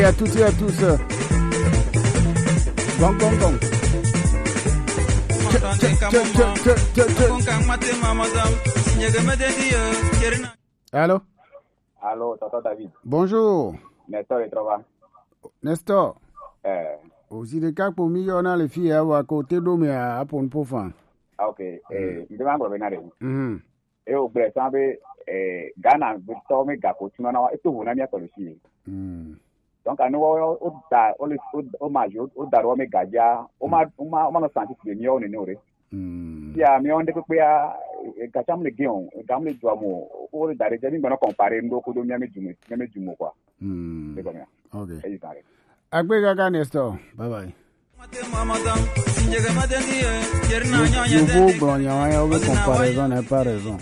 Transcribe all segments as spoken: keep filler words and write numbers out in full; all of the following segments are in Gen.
À toutes et à tous. Gong, gong, gong. Allô? Allô, tonton David. Bonjour. Nestor Etrova. Nestor. Eh. Aussi de kakpo mi yɔ na le fi ya wa ko te do me a apon po fan. Ah, ok. Eh, mi de ma ngro be na de. Mhm. E o gblɔe sã be, eh, Ghana tɔwo me gako tuna na wa, eto vo na mía tɔ le fi. Mm. Donc, anu wo, wo da, wo le, wo, wo ma jo, wo da wo me gadzia, wo ma, wo ma, wo ma nɔ santi si mía wo nene o ɖe. Mm. Ya, mía wo ŋɖe kpekpea, eh, gatsa mu le gɛ o, ga mu le dua mo, wo le da ɖe dze, mi gbɔna comparer ŋɖo kodo mía me dume, mía me dume quoi. Mm. C'est comme ça. Ok. Eyi zã ɖe. Akpe kaka Nestor. Bye bye. Yovo gblɔ nya wa ya, wobe comparaison n'est pas raison.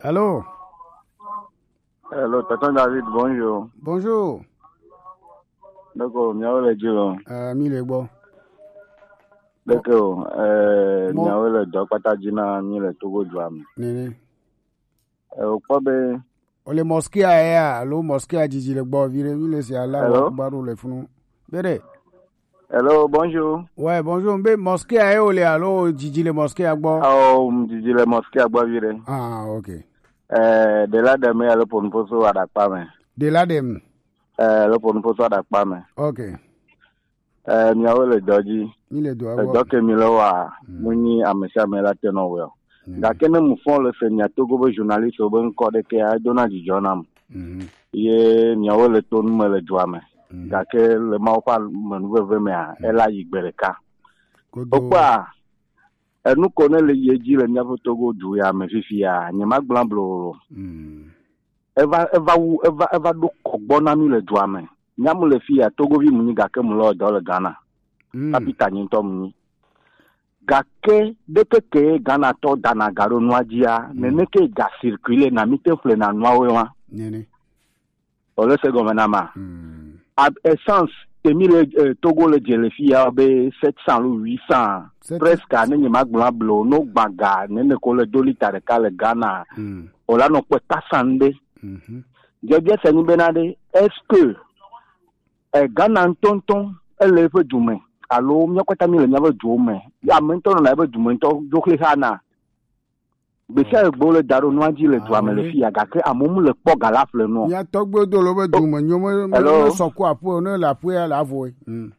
Allô? Hello, tonton David, bonjour. Bonjour. Donc, miawo le dzi lo. Euh, mi le gbɔ. Donc, euh, miawo le dɔ kpata dzi na mi le Togo dua me. Nene. Eh, wòkpɔ be. Wòle mosquée ya alo mosquée didi le gbɔ viɖe, mi le se Allahu Akbar le funu. Bere. Hello, bonjour. Ouais, bonjour. Mbe mosquée ya wòle alo didi le mosquée gbɔ? Oh, didi le mosquée gbɔ viɖe. Ah, ok. Eh, de la deme alo ponuposo aɖakpa me. De la deme. Eh, alo ponuposo aɖakpa me. Ok. Eh, miawo le dɔ dzi. Mi le dɔa wɔ. Edɔ ke mi le wa, mu nyi ame sia ame la te nɔ wɔ. Gake ne mu fɔ le se mia Togo be journaliste be ŋkɔ ɖe ke ya, edona dzidzɔ nam. Ye miawo le to nu me le dua me. Gake le Mawu ƒe amenuveve mea, ela yi gbe ɖeka. Wokpɔa, enu ko ne le yi edzi le míaƒe Togo du ya me fifi ya, nyemagblɔ blo o. Eva, eva wu, eva, eva ɖo kɔgbɔ na mí le dua me. Nya mu le fi ya, Togovi mu nyi gake mu le dɔ le Ghana. Kapita nyi ŋutɔ mu nyi. Gake ɖeke ke Ghana tɔ dana ga ɖo nua dzia, nene ke ga circuler na mí te ƒle na nuawo wa. Nene. O le se gɔme na ma. Ab-, essence, te mí le, eh, Togo le dze le fi ya be sept cents alo huit cents. Presque, ne nyemagblɔ blo, no gbaga, nene ko le do lita ɖeka le Ghana. O la nɔ kpe tasan ɖe. Dze bia se nyi bena ɖe, est-ce que, eh, Ghana ŋutɔŋutɔ, ele eƒe du me, alo míawo katã mí le míaƒe duwo me? Ye ame ŋutɔ nɔna eƒe du me ŋutɔ dzo xlẽ xa na. Gbe sia gbe wole da ɖo nua dzi le dua me le fi ya, gake amewo mu le kpɔ ga la ƒle nua. Mía tɔgbuiwo do le wobe du me nyo, me, me, me sɔ ku aƒe o, ne le aƒea le avoe. Mm.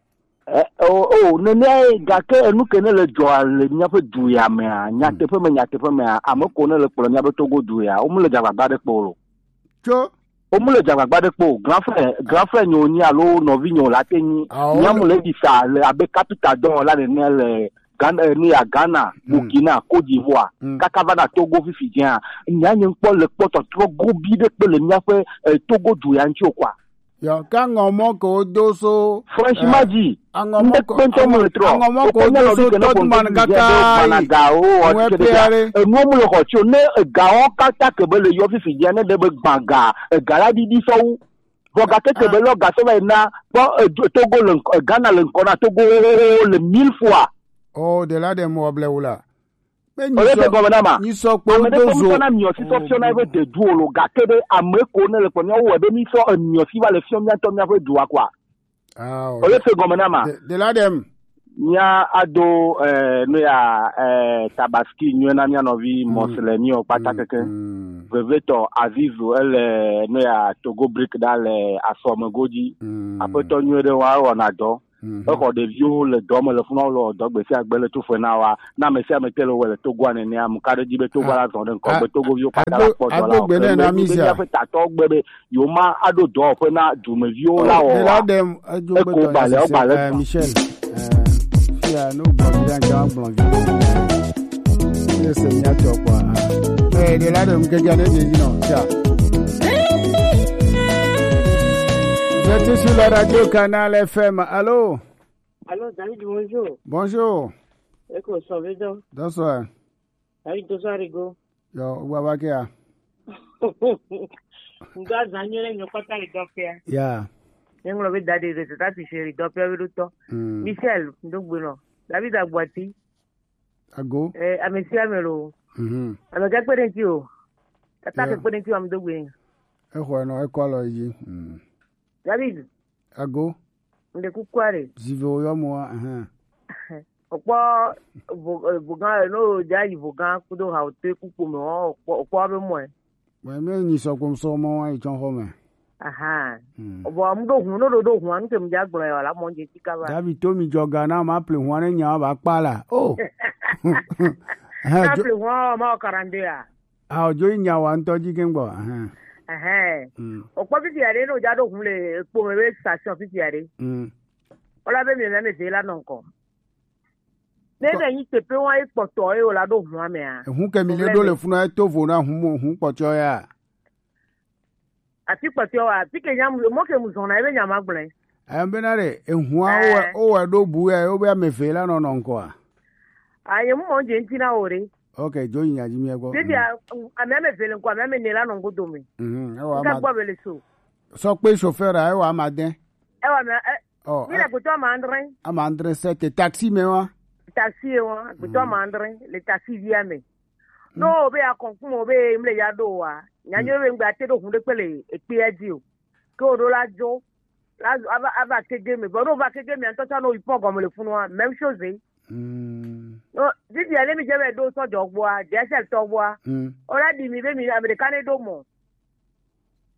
Eh, o, o, nenea ye, gake enu ke ne le dzɔa le míaƒe du ya mea, nyateƒe me, nyateƒe mea, ame ko ne le kplɔ míaƒe Togo du ya, wo mu le dze agbagba ɖe kpɔ o. Tso. Wo mu le dze agbagba ɖe kpɔ o. Grand frère, grand frère nyo nyi alo nɔvi nyo la te nyi. Awo. Mía mu le ɖi sa le abe kapita dɔwɔla nene le Ghana, eh, nu ya Ghana, Burkina, Côte d'Ivoire, kaka va na Togo fifi dzea, nya nye ŋkpɔ le kpɔtɔ trɔ gobi ɖe kpe le míaƒe, eh, Togo du ya ŋuti o kwa. Yɔ, ka ŋɔ mɔ ke wodo so, franchement, eh, di, aŋɔ mɔ ke, ŋɖe kpe ŋutɔ mu le trɔ. Aŋɔ mɔ ke wodo so Tottenham kaka yi. Managa o, ŋue pe aɖe. Enuwo mu le xɔ tsi o. Ne egawo katã ke be le yɔ fifi dzea, ne ɖe be gbã ga, ega la ɖiɖi sɔwu. Vɔ gake ke be lɔ gasɔ va yi na kpɔ, eh, Togo le ŋkɔ, eh, Ghana le ŋkɔ na Togo le mille fois. Oh, de la dem wɔ ble wula. Be nyi sɔ, gɔme na ma. Nyi sɔ kpo ame ɖe do zo. Ŋutɔ na miɔ si sɔ fiɔ na eƒe dedu o lo, gake ɖe ame ko ne le kpɔ mía wo be mi sɔ emiɔ si va le fiɔ mía tɔ mía ƒe dua kwa. Ah, o le se gɔme na ma. De, de la dem. Mía ado, eh, nu ya, eh, tabaski nyuie na mía nɔvi Moslemi o kpata keke. Vevetɔ Azizu ele nu ya Togo Brick ɖa le asɔme godzi. Aƒetɔ nyuie ɖe wa wɔna dɔ. Exɔ ɖeviwo le dɔ me le funa, wole wɔ dɔ gbe sia gbe le toƒe na wa. Na ame sia ame te le wɔ le Togoa nenea, mu ka ɖe dzi be Togo la zɔ ɖe ŋkɔ gbe Togoviwo kpata la kpɔ dɔ la o. Ke be míaƒe tatɔwo gbe be yewo ma aɖo dɔwɔƒe na dumeviwo la wɔ wa. Eko ba le, o ba le. Michel, eh, fia, no gblɔ vi ɖe ŋkɛ, gblɔ vi. Míle se mía tɔ kpɔa. Eh, de la dem keke ne de dzi nɔ. Tiens. Vous êtes sur la radio Canal F M. Allô? Allô, David, bonjour. Bonjour. Eko sɔ be dɔ. Bonsoir. David, bonsoir, Rigo. Yo, wa wa ke ya. Nga zanyo le nyokota le dɔ fia. Ya. Nyenglo be dade de ta ti sheri dɔ fia be do tɔ. Michel, ndo gbe no. David Agbati. Ago. Eh, ame sia ame lo. Mhm. Ame gakpe ɖe ŋuti o. Tata ke kpene ti wa mi do gbe. Exɔe nɔ, ekɔ alɔ yi dzi. Mm. David, Ago, ŋɖe kuku aɖe. Zive wo yɔ mo wa, ahan. Okpɔ vo-, eh, vogan, no ja yi vogan kudo ha ote kuku me, o kpɔ, okpɔ be mɔe. Mɛ, mɛ nyi sɔ kpom sɔ mɔ wa yi tsɔn xɔ me. Ahan. Mm. Vɔ mu ɖo hun, no ɖo ɖo hun, anu ke mu ja gblɔ ya la mɔ je ti kaba. David to mi jɔ ga na ma ple hun ne nya ba kpa la. Oh. Ahan, Na jo-, ple hun ma o quarante-deux a. Ah, ojo yi nya wa ŋutɔ dzi ke gbɔ. Ahan. Ɛhɛn. Mm. Okpɔ fifi aɖe ne wòdza ɖo ʋu le kpome be station fifi aɖe. Mm. Wola be mi le ame eve la nɔ ŋkɔ. Ne ne nyi teƒe wa ye kpɔtɔ ye wòla ɖo ʋua mea. Ehu ke mi le ɖo le funu eto vo na hu mo hu kpɔtɔ ya. Afi kpɔtɔ wa, afi ke nya mu, mɔ ke mu zɔna ebe nya ma gblẽ. Em bena ɖe ehua wo wɔ ɖo bu ya wo be ame eve la nɔ nɔ ŋkɔa. Aye mu mɔ dze ŋti na wo ɖe. Ok, dzo yi nya dzi mi gbɔ. Bibi a, ame ame eve le ŋkɔ, ame ame ne la nɔ ŋgodo me. Mhm, ewa Nka ma. Gbɔ be le so. Sɔ kpe chauffeur a, ewa ma de. Ewa me, e, Oh, mi le eh, gbetɔ ama andre. Ama andre sete taxi me wa. Taxi ye wa, gbetɔ ama andre, le taxi via me. No be akɔnkun mo be mle ya ɖo wa. Nya nyo be ŋgbe ate ɖo hun ɖe kpe le ekpea dzi o. Ke o ɖo la dzo. La ava, ava kege me. Vɔ no va kege me ŋutɔ tsɔ no yi kpɔ gɔme le funua. Même chose. Mm. No, didi ale mi dze be ɖo sɔ dzɔ gbɔa, D S L tɔ gbɔa. Mm. O la ɖi mi be mi ame ɖeka ne ɖo mɔ.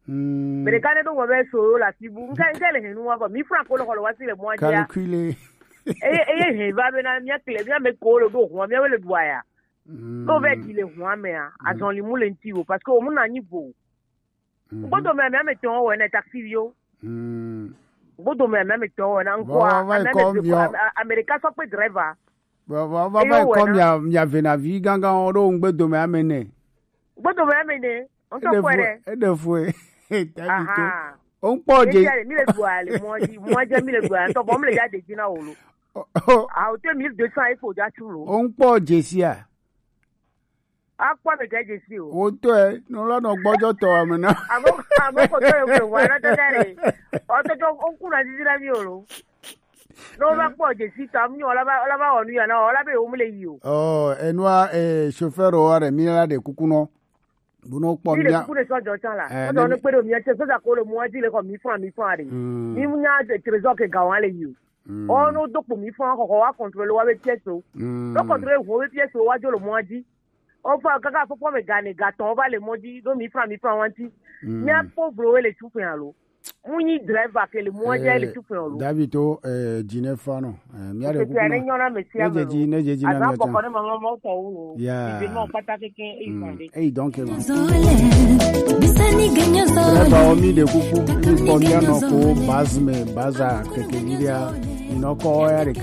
Mm. Ame ɖeka ne ɖo mɔ be so yo la ti bu. Nke, nke le henu wa kɔ. Mi franc ko le xɔ le wa si le mɔa dzia. Calculer. Eye, eye he va be na mia kle, mia me ko le ɖo hua, mia le ɖua ya. Mm. No ve di le hua mea, azɔli mu le ŋti o, parce que o mu na nyi vo. Mhm. Gbɔdɔ me, ame ame tɔn wɔ ne taxi yo. Mm. Gbɔdɔ me, ame ame tɔn wɔ na ŋkɔ, va, va, ame ame kɔ eve miɔ. Am-, a-, ame ɖeka sɔ kpe driver. Va, va, va, eye va wɔ kɔ na. Mia, mia ve na vi gangan wo ɖo ŋgbe dome ame ne. Gbɔdɔ me ame ne, on tɔ kɔ ɖe. Eɖe fue. Tabi to. Aha. O ŋkpɔ dze. Etia le, mi le dua le mɔa dzi, mɔa dzi mi le dua, ntɔ bɔ mi le ya de dzi na wo lo. Oh, oh. A, o te mille deux cents e fo ja tu lo. O ŋkpɔ dze sia. Akpɔ ame ke dze si o. Wo tɔe, no la nɔ gbɔdzɔ tɔ ame na. Amo, amo ko to yo ko wa na tata re. O to to o ku na didi na mi o lo. No ba kpɔ dze si ta mi o la ba, o la ba o nu ya na o la be o mu le yi o. Oh, enua, eh, chauffeur o wa re mi la de kuku no. Bu no kpɔ mi le mia. Kuku ne sɔ jɔ tsan la. Eh, o to ne ne kpe do mi ate so da ko le mo di le ko mi fran mi fran re. Mm. Mi mu nya de trésor ke ga wa le yi o. Mm. O no do kpo mi fran ko ko wa contrôler wa be pièce o. Mm. Do contrôler wo be pièce o wa jo le mo di. O fa kaka fo po me ga ne ga ton o ba le mo di do mi fran mi fran wa ti. Mm. Mia pauvre we le tu fun alo. Mu nyi driver ke le mua dia le tu fun alo. David to, eh, dine fano. Eh, mi ale kuku ne nyona me sia me. Ne je ji, ne je ji na mi ata. Boko ne mama mo to wo. Ya. Ibe mo pata keke e fande. Eh, donc, eh, bisani ganyo zo. Driver o mi de kuku, mi ko mi ano ko baz me, baza keke lidia. Ino ko ya de ka